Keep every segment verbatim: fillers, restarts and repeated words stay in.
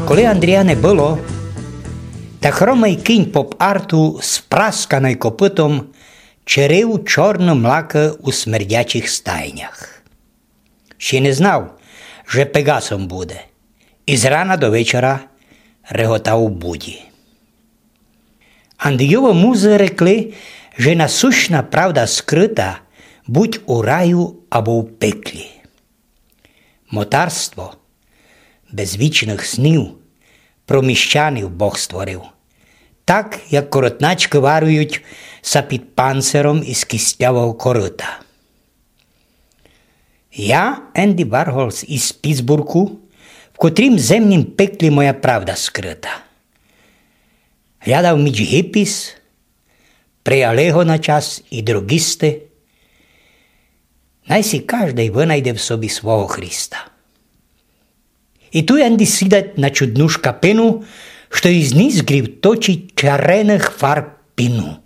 Коли Андрія не было, та хромый кінь поп-арту з прасканою копытом черив чорны млакы у смердячих стайнях. Ще не знав, же пегасом буде, і з рана до вечора реготав у буді. Андрійовы музы рекли, же насущна правда скрыта будь у раю або в пеклі. Мотарство без вічных снів про міщанів Бог створив, так, як коротначкы варують ся під панциром із кістлявого корыта. Я, Енді Варгол із Пітсбурґу, в котрім земнім пеклі моя правда скрыта. Глядав міч гіпіс, прияли го на час і другісты. Най сі каждый вынайде в собі свого Христа. І ту Енді сідать на чудну шкапину, што із ніздрів точить чареных фарб піну.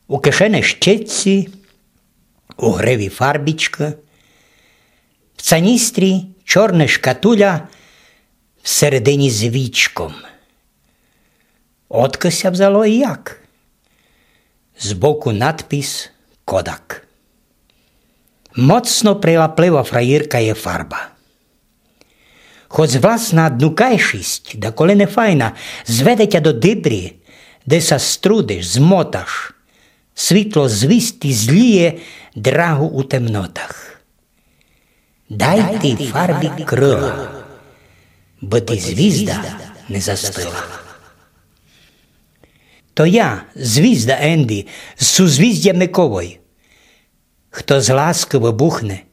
У кишени щецці, у гриві фарбічка, в цаністрі чорна шкатуля, всередині з вічком. Одкы ся взяло і як? Збоку надпис «Кодак». Моцно прилаплива фраєрка є фарба. Хоц власна днукайшість даколи не файна, зведе тя до дибрі, де ся струдиш, змоташ. Світло звісти зліє драгу у темнотах. Дай тій фарбі крыла, бы ти звізда не застыла. То я, звізда Енді, з сузвіздя Миковой. Хто з ласкы выбухне,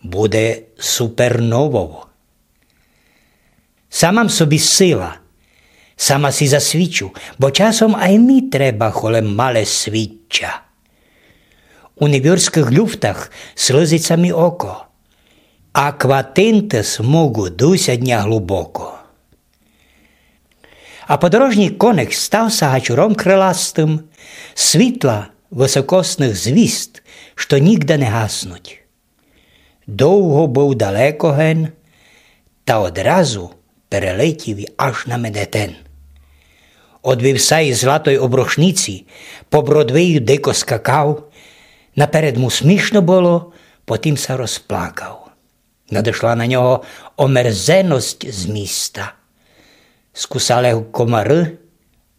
буде суперновов. Сама м собі сила, сама сі засвічу, бо часом ай мі треба холем мале свіччя. У небірськых люфтах слызить ся мі око, акватинты смугу дусять ня глубоко. А подорожній коник став ся гачуром крыластым світла высокосных звізд, што нігда не гаснуть. Довго быв далеко ген, та одразу перелетів аж на Манхеттен. Од вівса і златой обрушниці по Бродвею дико скакав, наперед му смішно было, потім ся розплакав. Надышла на нього омерзеность з міста. Скусали го комары,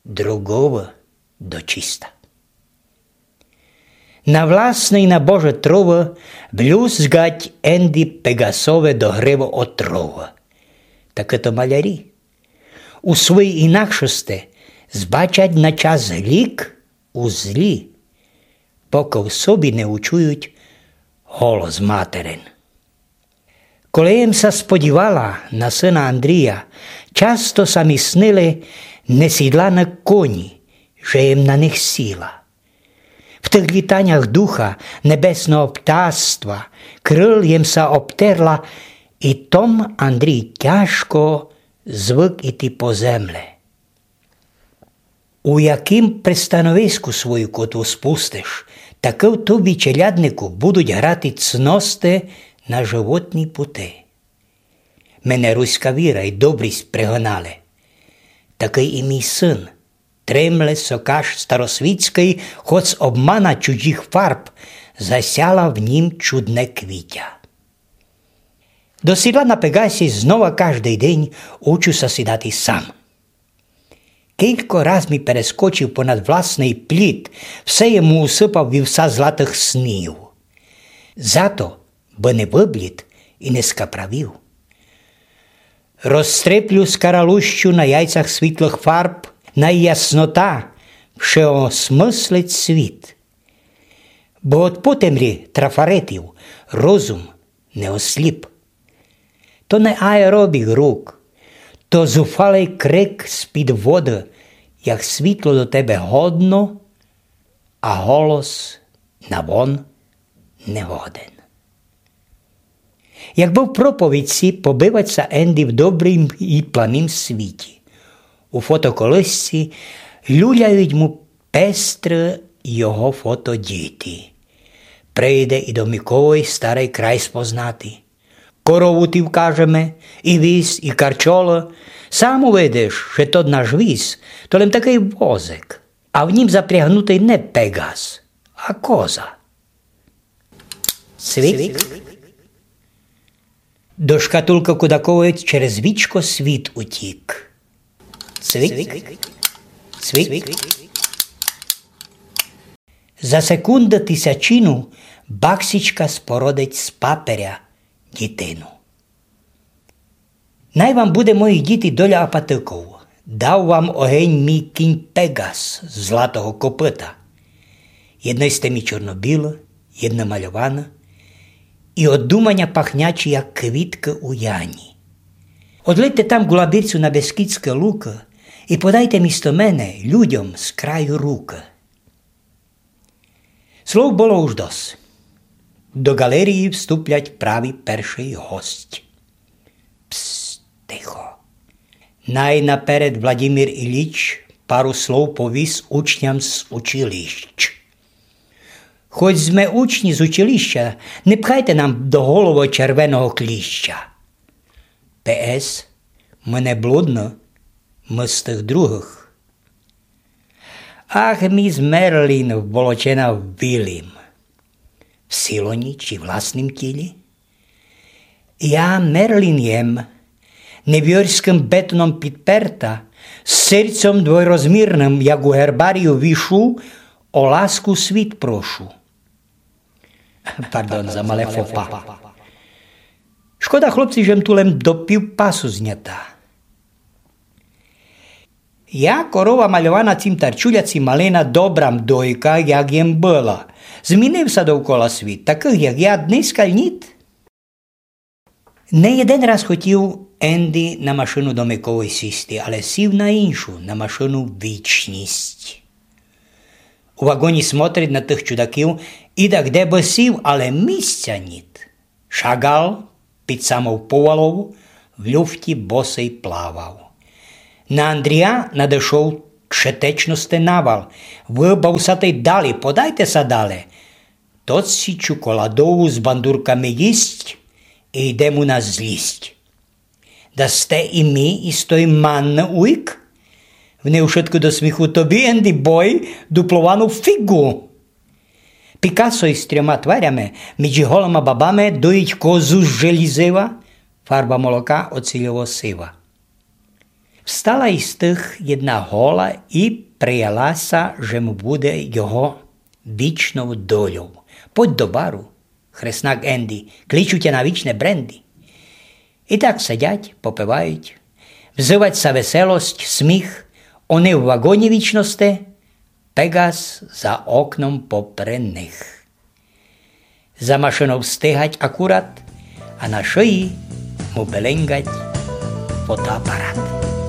другого дочиста. На власный, на Боже, тровы блюзгать Енді Пегасове до гривы отровы. Такы то малярі. У своїй інакшости збачать на час лік у злі, покы в собі не учують голос материн. Коли єм ся сподівала на сына Андрія, часто ся мі снили несідланы коні, же єм на них сіла. В тых літанях духа небесного птаства крыл єм ся обтерла, і том Андрій тяжко звык іти по земле. У яким пристановиску свою котву спустиш, такы в тобі, челяднику, будуть грати цности на животні пути. Мене руська віра й добрість пригнали. Такый і мій сын, тремле сокаш старосвітськый, хоц обмана чужих фарб засяла в нім чудне квітя. До сідла на Пегасі знова каждый день учу ся сідати сам. Кілько раз мі перескочив понад власный пліт, все єму усыпав вівса златых снів. Зато, бы не выблід і не скаправів. Розстреплю скаралущу на яйцях світлых фарб, най яснота всеосмыслить світ. Бо од потемрі трафаретів розум не осліп. То не аеробік рук, то зуфалый крик з-під воды, як світло до тебе годно, а голос на вон не годен. Як бы в проповідці, побывать ся Енді в добрім і планім світі. У фотоколысці люляють му пестры його фотодіти. Прийде і до Миковой старый край спознати. Корову ти вкажеме, і віз, і карчола. Сам увидиш, же тот наш віз, то лем такый возик, а в нім запрягнутый не Пегас, а коза. Цвік. До шкатулкы Кудаковой через вічко світ утік. Цвік, цвік. За секунду тисячину баксічка спородить з паперя дітину. Най вам буде, мої діти, доля апатиков. Дав вам огень мій кінь Пегас златого копыта. Єдно сте мі чорно-біло, єдно мальовано, і од думаня пахнячі, як квіткы у яні. Одлетьте там ґу лабірцю на бескідськы лукы і подайте місто мене людьом з краю рукы. Слов было уж дос. До ґалерії вступлять праві першый гость. Пс, тихо. Най наперед Владімір Ілліч пару слов повіст учням з училищ. Хоч зме учні з училища, не пхайте нам до головы червеного кліща. П С. Мы не блудны, мы з тых другых. Ах, міс Мерлін вболочена в білім. В силоні чи власным тілі? Я Мерлін єм, небіорськым бетоном підперта, з серцьом двойрозмірным, як у гербарію вішу, о ласку світ прошу. Пардон за мале фопа. Шкода, хлопці, же м ту лем до пів пасу знята. Я корова мальована, ци м тарчуля, ци малина, добра м дойка, як єм была. Змінив ся довкола світ, такых, як я, днеська ніт. Не єден раз хотів Енді на машину до Миковой сісти, але сів на іншу, на машину Вічність. У ваґоні смотрить на тых чудаків, і да де бы сів, але місця ніт. Шаґал під самов Повалов в люфті босый плавав. На Андрія надышов шетечности навал. Вы, бавусатый, далі, подайте ся дале. Тот сі чоколадову з бандурками їсть і йде му на злість. Да сте і мі із той манны уйк? В неї вшытко до сміху, тобі, Енді бой, дупловану фіґу. Пікасо із трьома тварями, між голыма бабами, доїть козу з желізива, фарба молока оцільово-сива. Встала із тых єдна гола і прияла ся, же му буде його вічнов дольов. Подь до бару, хреснак Енді, кличу тя на вічне бренді. І так сидять, попивають, взывать ся веселость, сміх, они в ваґоні вічности, Пеґас за окном попри них. За машинов встигать акурат, а на шиї му беленґать фотоапарат.